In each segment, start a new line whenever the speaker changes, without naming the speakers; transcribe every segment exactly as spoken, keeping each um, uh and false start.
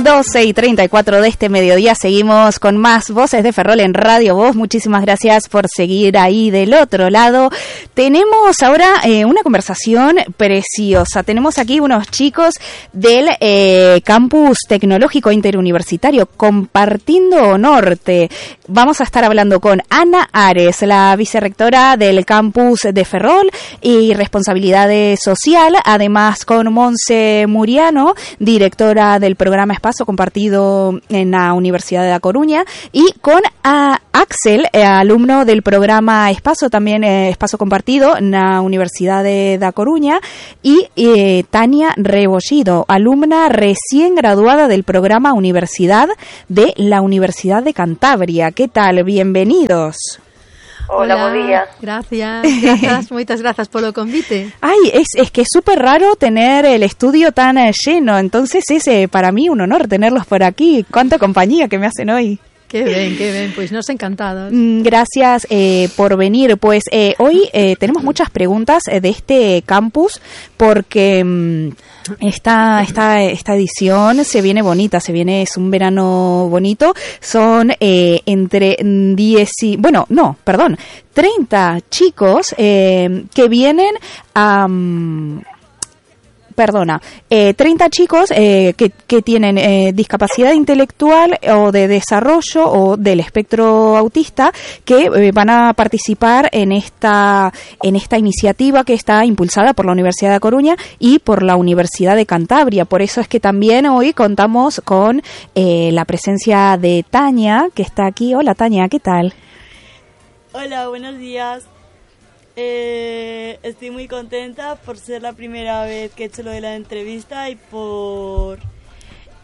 doce y treinta y cuatro de este mediodía seguimos con más Voces de Ferrol en Radio Voz. Muchísimas gracias por seguir ahí del otro lado. Tenemos ahora eh, una conversación preciosa. Tenemos aquí unos chicos del eh, Campus Tecnológico Interuniversitario Compartiendo Norte. Vamos a estar hablando con Ana Ares, la vicerrectora del Campus de Ferrol y Responsabilidad Social, además con Monse Muriano, directora del programa Espacio Compartido en la Universidad de La Coruña, y con a Axel, eh, alumno del programa Espacio, también eh, Espacio Compartido en la Universidad de La Coruña, y eh, Tania Rebollido, alumna recién graduada del programa Universidad de la Universidad de Cantabria. ¿Qué tal? Bienvenidos.
Hola, Hola, buen día.
Gracias, gracias, moitas grazas polo convite.
Ay, es, es que es súper raro tener el estudio tan eh, lleno, entonces es eh, para mí un honor tenerlos por aquí. Cuánta compañía que me hacen hoy.
Qué bien, qué bien, pues nos encantados.
Gracias eh, por venir. Pues eh, hoy eh, tenemos muchas preguntas eh, de este campus porque mmm, esta, esta, esta edición se viene bonita, se viene, es un verano bonito. Son eh, entre diez y, bueno, no, perdón, treinta chicos eh, que vienen a... Um, Perdona, eh, treinta chicos eh, que, que tienen eh, discapacidad intelectual o de desarrollo o del espectro autista que eh, van a participar en esta en esta iniciativa que está impulsada por la Universidad de La Coruña y por la Universidad de Cantabria. Por eso es que también hoy contamos con eh, la presencia de Tania, que está aquí. Hola Tania, ¿qué tal?
Hola, buenos días. Eh, estoy muy contenta por ser la primera vez que he hecho lo de la entrevista y por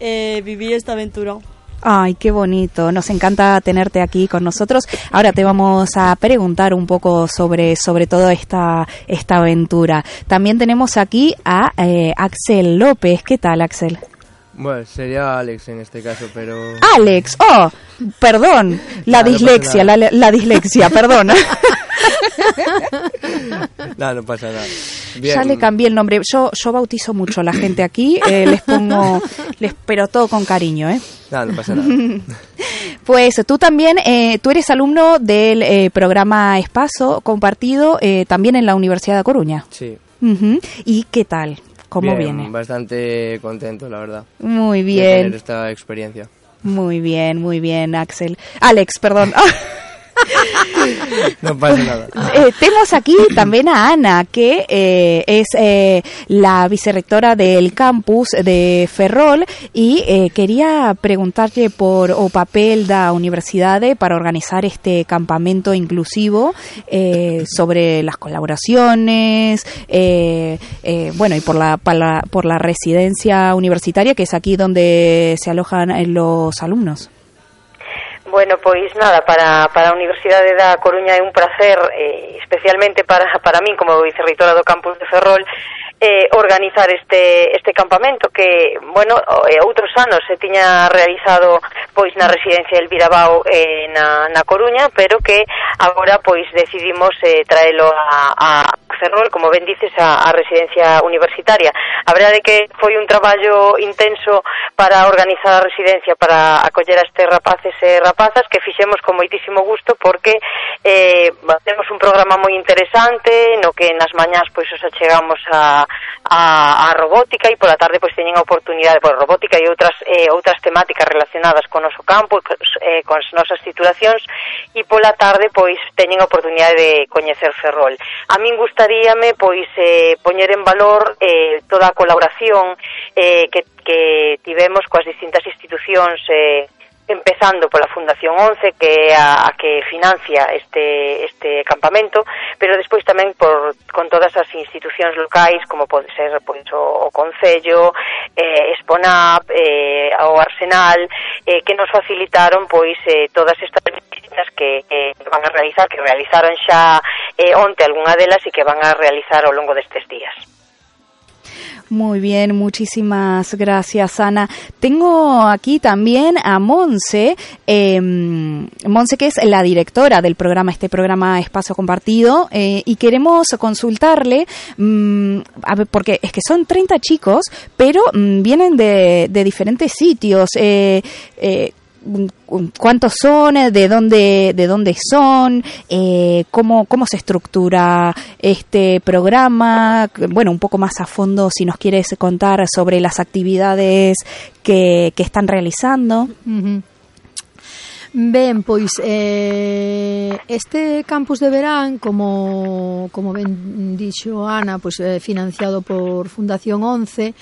eh, vivir esta aventura.
Ay, qué bonito. Nos encanta tenerte aquí con nosotros. Ahora te vamos a preguntar un poco sobre, sobre toda esta, esta aventura. También tenemos aquí a eh, Axel López. ¿Qué tal, Axel?
Bueno, sería Alex en este caso, pero...
¡Alex! ¡Oh! Perdón. La no, dislexia, no la, la dislexia, perdón.
No, no pasa nada. Bien.
Ya le cambié el nombre. Yo yo bautizo mucho a la gente aquí. Eh, les pongo... les pero todo con cariño, ¿eh?
No, no pasa nada.
Pues tú también, eh, tú eres alumno del eh, programa Espacio Compartido, eh, también en la Universidad de Coruña.
Sí.
Uh-huh. ¿Y qué tal? ¿Cómo
bien,
viene?
Bastante contento, la verdad.
Muy bien.
De tener esta experiencia.
Muy bien, muy bien, Axel. Alex, perdón.
No pasa nada.
Eh, tenemos aquí también a Ana, que eh, es eh, la vicerrectora del campus de Ferrol y eh, quería preguntarle por o papel da universidade para organizar este campamento inclusivo eh, sobre las colaboraciones, eh, eh, bueno, y por la, por la por la residencia universitaria, que es aquí donde se alojan los alumnos.
Bueno, pois nada, para, para a Universidade da Coruña é un placer, eh, especialmente para, para min como vicerreitora do campus de Ferrol, eh, organizar este este campamento que, bueno, eh, outros anos se tiña realizado pois na residencia Elvira Bao eh, na, na Coruña, pero que agora pois decidimos eh, traelo a, a Ferrol, como ben dices, a, a residencia universitaria. A verdade é que foi un traballo intenso para organizar a residencia, para acoller a estes rapaces e rapazas, que fixemos con moitísimo gusto porque eh, temos un programa moi interesante no que nas mañás pois os achegamos a, a, a robótica e pola tarde pois teñen a oportunidade por robótica e outras eh, outras temáticas relacionadas con o noso campo, eh, con as nosas titulacións, e pola tarde pois teñen a oportunidade de coñecer Ferrol. A min gustaríame pois eh, poñer en valor eh, toda a colaboración eh, que, que tivemos coas distintas institucións, eh, empezando pola Fundación once, que é a, a que financia este este campamento, pero despois tamén por con todas as institucións locais, como pode ser pois o, o Concello, eh, Exponap, eh, o Arsenal, eh, que nos facilitaron pois eh, todas estas visitas que, que van a realizar, que realizaron xa eh, onte algunha delas e que van a realizar ao longo destes días.
Muy bien, muchísimas gracias, Ana. Tengo aquí también a Monse, eh, Monse que es la directora del programa, este programa Espacio Compartido, eh, y queremos consultarle, mmm, a ver, porque es que son treinta chicos, pero mmm, vienen de, de diferentes sitios, eh, eh, ¿cuántos son? ¿De dónde, de dónde son? Eh, ¿cómo, ¿Cómo se estructura este programa? Bueno, un poco más a fondo, si nos quieres contar sobre las actividades que, que están realizando.
Uh-huh. Ben, pois eh, este campus de verán, como como ben dixo Ana, pois eh, financiado por Fundación once,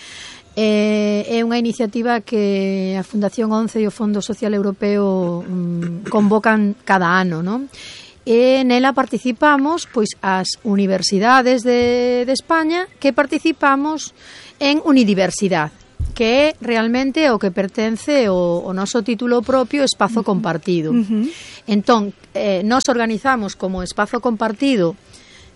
Eh, é unha iniciativa que a Fundación once e o Fondo Social Europeo um, convocan cada ano, non? E nela participamos pois as universidades de, de España que participamos en Unidiversidade, que é realmente o que pertence o, o noso título propio Espazo Compartido. Uh-huh. Entón, eh, nos organizamos como Espazo Compartido,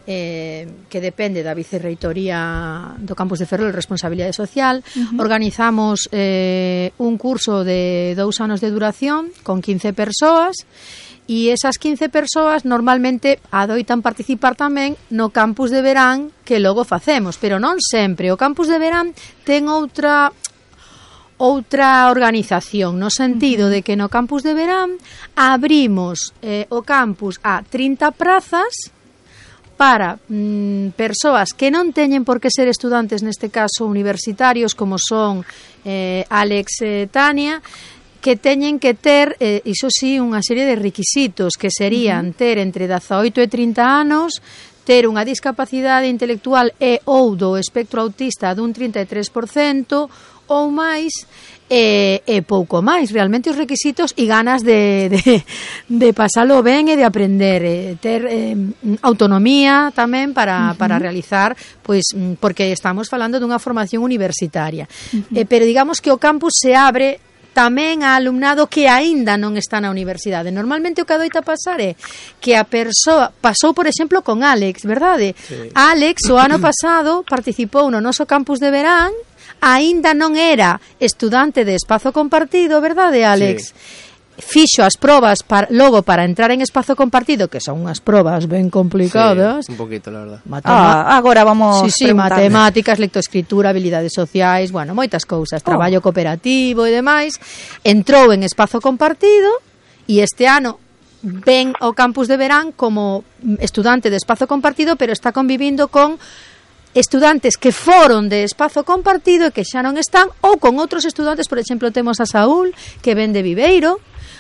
Eh, que depende da Vicerreitoría do Campus de Ferrol, Responsabilidade Social. Uh-huh. Organizamos eh, un curso de dous anos de duración con quince persoas, e esas quince persoas normalmente adoitan participar tamén no campus de verán que logo facemos, pero non sempre. O campus de verán ten outra outra organización, no sentido de que no campus de verán abrimos eh, o campus a trinta prazas para mm, persoas que non teñen por que ser estudantes, neste caso universitarios, como son eh, Alex e Tania, que teñen que ter, eh, iso sí, unha serie de requisitos, que serían ter entre dezaoito e trinta anos, ter unha discapacidade intelectual e ou do espectro autista dun trinta e tres por cento ou máis, e, e pouco máis. Realmente os requisitos e ganas de, de, de pasalo ben e de aprender, e ter eh, autonomía tamén para, uh-huh. para realizar, pois porque estamos falando dunha formación universitaria. Uh-huh. Eh, pero digamos que o campus se abre tamén a alumnado que aínda non está na universidade. Normalmente o que adoita pasar é que a persoa pasou, por exemplo, con Alex, verdade? Sí. Alex o ano pasado participou no noso campus de verán, aínda non era estudante de Espazo Compartido, verdade, Alex? Sí. Fixo as probas para, logo para entrar en Espazo Compartido, que son unhas probas ben complicadas.
Sí, un poquito, la verdad.
Matema- ah, agora vamos
sí, sí, matemáticas, lectoescritura, habilidades sociais, bueno, moitas cousas, traballo oh. cooperativo e demais. Entrou en Espazo Compartido e este ano ven ao campus de verán como estudante de Espazo Compartido, pero está convivindo con estudantes que foron de Espazo Compartido e que xa non están, ou con outros estudantes. Por exemplo, temos a Saúl, que ven de Viveiro,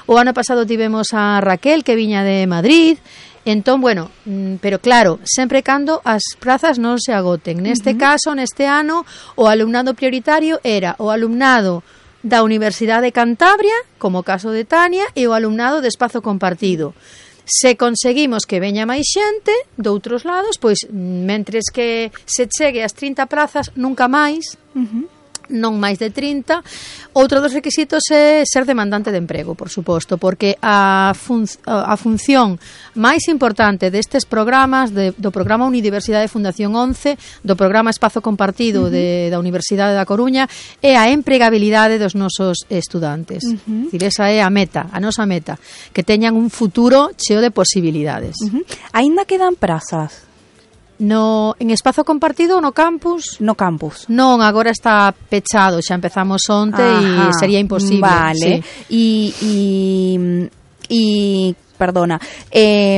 o ano pasado tivemos a Raquel, que viña de Madrid. Entón, bueno, pero claro, sempre cando as prazas non se agoten. Neste uh-huh. caso, neste ano, o alumnado prioritario era o alumnado da Universidade de Cantabria, como o caso de Tania, e o alumnado de Espazo Compartido. Se conseguimos que veña máis xente doutros lados, pois mentres que se chegue ás trinta prazas, nunca máis, uh-huh. non máis de trinta. Outro dos requisitos é ser demandante de emprego, por suposto, porque a, fun- a función máis importante destes programas, de, do programa Unidiversidade Fundación once, do programa Espazo Compartido uh-huh. de, da Universidade da Coruña, é a empregabilidade dos nosos estudantes. Uh-huh. Dicir, esa é a meta, a nosa meta, que teñan un futuro cheo de posibilidades.
Uh-huh. Aínda quedan prazas?
No, en Espazo Compartido no campus?
No campus.
Non, agora está pechado, xa empezamos onte e sería imposible.
Vale.
Sí.
Y, y, y perdona, eh,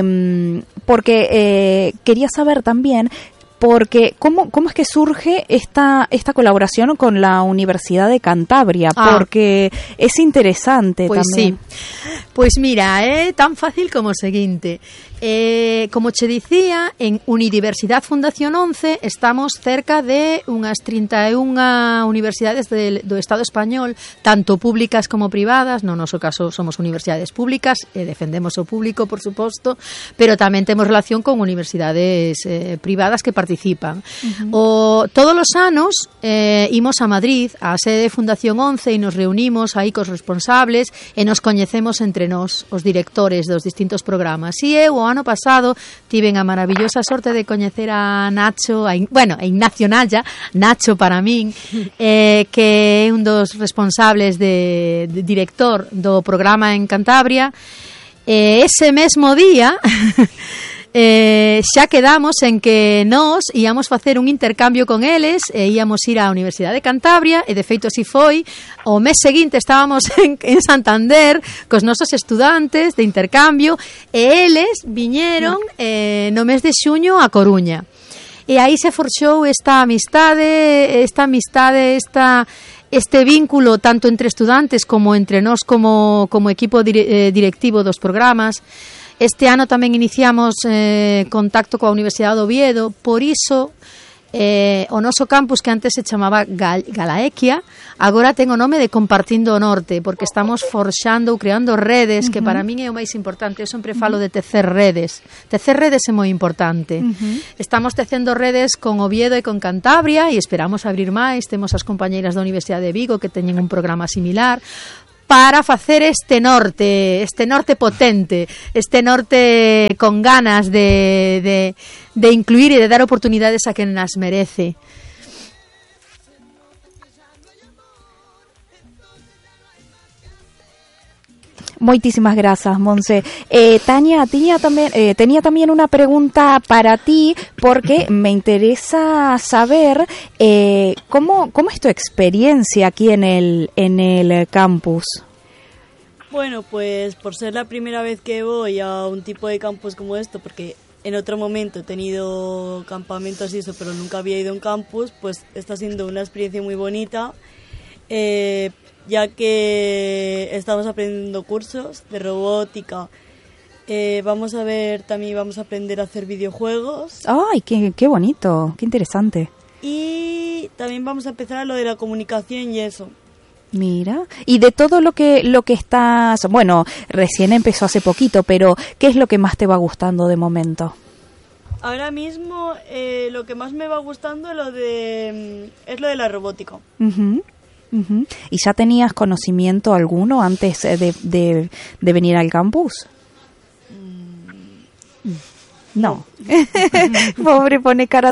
porque eh, quería saber también, porque ¿cómo, cómo es que surge esta, esta colaboración con la Universidad de Cantabria? Ah. Porque es interesante
pues
también.
Sí. Pois mira, é tan fácil como o seguinte. Eh, como che dicía, en Unidiversidade Fundación once estamos cerca de unhas trinta e unha universidades de, do Estado español, tanto públicas como privadas. No noso caso somos universidades públicas e defendemos o público, por suposto, pero tamén temos relación con universidades eh, privadas que participamos participan. Uh-huh. O todos os anos eh, imos a Madrid, á sede de Fundación once, e nos reunimos aí cos responsables e nos coñecemos entre nós, os directores dos distintos programas. E eu, o ano pasado, tiven a maravillosa sorte de coñecer a Nacho, a, bueno, a Ignacio Naya, Nacho para min, eh, que é un dos responsables de, de director do programa en Cantabria. Eh, ese mesmo día eh, xa quedamos en que nós íamos facer un intercambio con eles e íamos ir á Universidade de Cantabria, e de feito así foi. O mes seguinte estábamos en, en Santander cos nosos estudantes de intercambio, e eles viñeron eh, no mes de xuño a Coruña. E aí se forxou esta amistade, esta amistade, esta este vínculo tanto entre estudantes como entre nós como, como equipo dire, eh, directivo dos programas. Este ano tamén iniciamos eh, contacto coa Universidade de Oviedo, por iso eh, o noso campus, que antes se chamaba Gal, Galaequia, agora ten o nome de Compartindo o Norte, porque estamos forxando ou creando redes, uh-huh. que para min é o máis importante. Eu sempre falo de tecer redes. Tecer redes é moi importante. Uh-huh. Estamos tecendo redes con Oviedo e con Cantabria, e esperamos abrir máis. Temos as compañeiras da Universidade de Vigo que teñen un programa similar, para facer este norte, este norte potente, este norte con ganas de, de, de incluir e de dar oportunidades a quen nas merece.
Muchísimas gracias, Monse. Eh, Tania, tenía también, eh, tenía también una pregunta para ti, porque me interesa saber eh, cómo, cómo es tu experiencia aquí en el, en el campus.
Bueno, pues por ser la primera vez que voy a un tipo de campus como esto, porque en otro momento he tenido campamentos y eso, pero nunca había ido a un campus, pues está siendo una experiencia muy bonita. Eh, ya que estamos aprendiendo cursos de robótica, eh, vamos a ver, también vamos a aprender a hacer videojuegos.
¡Ay, qué, qué bonito! ¡Qué interesante!
Y también vamos a empezar a lo de la comunicación y eso.
Mira, y de todo lo que lo que estás, bueno, recién empezó hace poquito, pero ¿qué es lo que más te va gustando de momento?
Ahora mismo eh, lo que más me va gustando lo de, es lo de la robótica.
Uh-huh. Uh-huh. ¿Y ya tenías conocimiento alguno antes de, de, de venir al campus? Mm. No. Pobre, pone cara